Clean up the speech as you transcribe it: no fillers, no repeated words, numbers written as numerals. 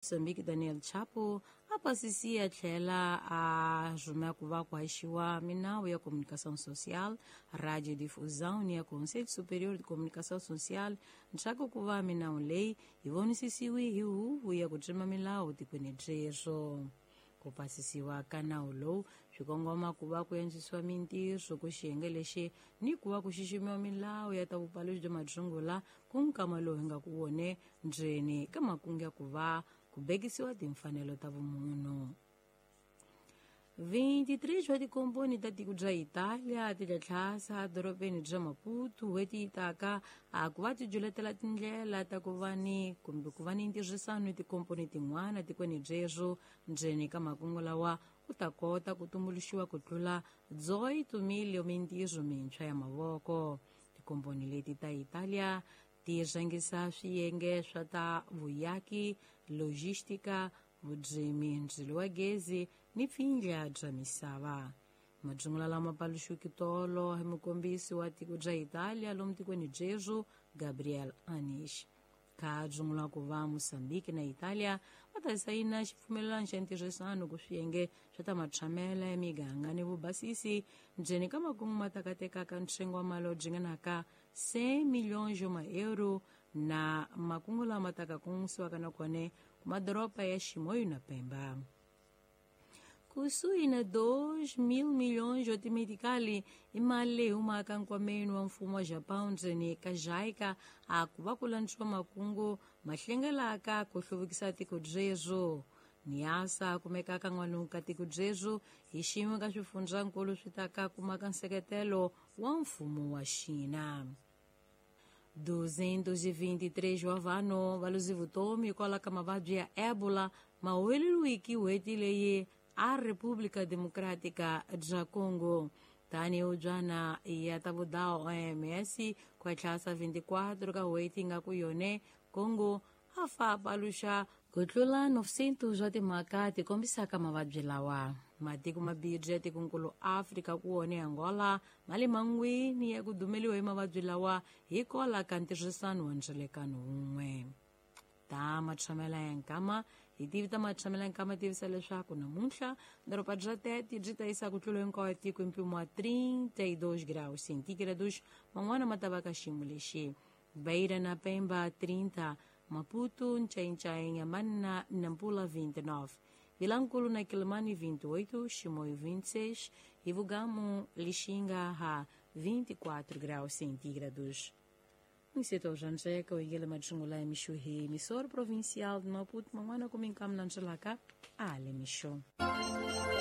Mozambique Daniel Chapo a pasisi a tlhela a rhumela ku va ku haxiwa minawu ya comunicação social, radiodifusão ni ya Conselho Superior de Comunicação Social, ntshaku ku va minawu leyi yi vonisisiwi hi huvo ya ku tsema milawu tikweni byeswo. Ku pasisiwa ka nawu lowu swi kongoma ku va ku antswisiwa mintirho ku xiyenge lexi ni ku va ku xiximiwa milawu ya ta vupaluxi bya madyungula ku nkama lowu hi nga ku wone ndzeni ka makungu ya ku va ku bekisiwa timfanelo ta vumunhu. 23 wa tikomponi ta tiko bya Italia ti tlhatlhasa dorobeni bya Maputo n'hweti yi taka a ku va ti juletela tindlela ta ku va ni kumbe ku va ni ntirhisano ni tikomponi tin'wana tikweni byeswo ndzeni ka makungu lawa ku ta kota ku tumbuluxiwa ku tlula 18 mintirho mintshwa ya mavoko. Tikomponi leti ta Italia ti rhangisa swiyenge swa ta vuyaki, logistika, vudzimi, ndzilo wa gezi ni pfindla bya misava. Madyungula lama paluxiweke tolo hi mukombisi wa tiko bya Italia lomu tikweni byeswo Gabriel Anish. Kha dzungula ku va Mozambique na Italia va ta sayina xipfumelelano xa ntirhisano ku swiyenge swa ta matshamela ya miganga ni vubasisi ndzeni ka makungu ma ta katekaka ntsengo wa mali wo dzinganaka 100 milhões de euro na makungu lama taka kongomisiwaka na kone ku madoroba ya Chimoio na Pemba. Kusuhi na 2 mil milhões de medicali i mali leyi humaka nkwameni wa mfumo wa Japão ndzeni ka JICA a ku va ku landziwa makungu ma hlengelaka ku hluvukisa tiko byeswo. Niasa kumekaka n'walungu ka tiko byeswo hi xin'we ka swifundzankulu swi ta ka kumaka nseketelo wa mfumo wa Xina. 223 wa vanhu va luzi vutomi hikwalaho ka mavabyi ya Ebola ma huweleriwiki n'hweti leyi a República Democrática bya Congo. Tanihi hubyana ya ta vudawu OMS ku tlhasa 24 ka n'hweti nga ku yone Congo a fa paluxa ku tlula 900 swa timhaka ti kombisaka mavabyi lawa. Matiko mabirhi ya tikonkulu Afrika ku wone Angola ma le mangwini ya ku dumeliwa hi mavabyi lawa hikwalaho ka ntirhisano wa ndzelekano wun'we. Ta matshamela ya nkama hi tivi ta matshamela ya nkama tivisa leswaku namuntlha doroba bya Tete byi ta yisa ku tlula hinkwayo tiko hi mpimo wa 32 graus centígrados, man'wana ma ta va ka xiyimo lexi. Beira na Pemba 30, Maputo, Nchainchai, Inhambane na Nampula 29, Vilankulo na Quelimane 28, Chimoio 26 e Vugamu, Lixinga a 24 graus centígrados. Mseto Janjeka, o Igele Majungula, Michuhi, emissor provincial de Maputo, Manguana, como em Camnangelaka, Ale Micho.